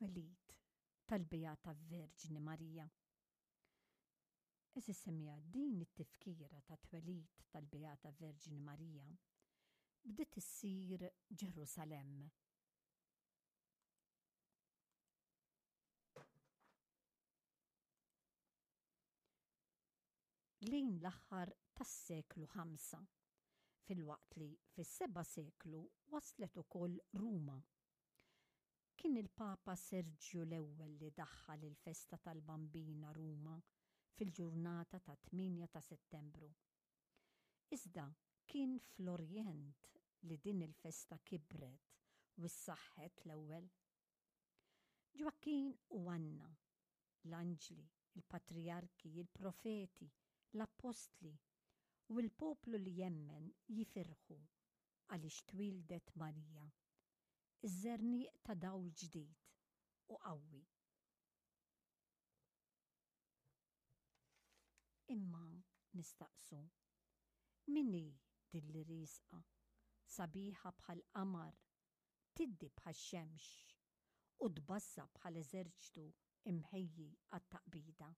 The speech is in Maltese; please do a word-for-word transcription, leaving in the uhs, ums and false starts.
It-twelid tal-Beata Verġni Marija. Għeżież semmiegħa, din it-tifkira tat-twelid tal-Beata Verġni Marija bdiet issir Ġerusalemm. Lejn l-aħħar tas-seklu ħamsa, filwaqt li fis-seba' seklu waslet ukoll Ruma. Kien il-Papa Serġju l-Ewwel li daħħal il-festa tal-Bambina Ruma fil-ġurnata ta' tmienja ta' Settembru. Iżda kien fl-Orjent li din il-festa kibret u ssaħħet l-ewwel. Ġwakkin u Anna, l-anġli, il-patrijarki, il-profeti, l-appostli u l-poplu li jemmen jifirħu għaliex twieldet Marija, iż-żerniq ta' dawl ġdid u qawwi. Imma nistaqsu, min hi din li riesqa, sabiħa bħall-qamar, tiddi bħax-xemx u tbażża' bħal eżerċtu imħejji għat-taqbida?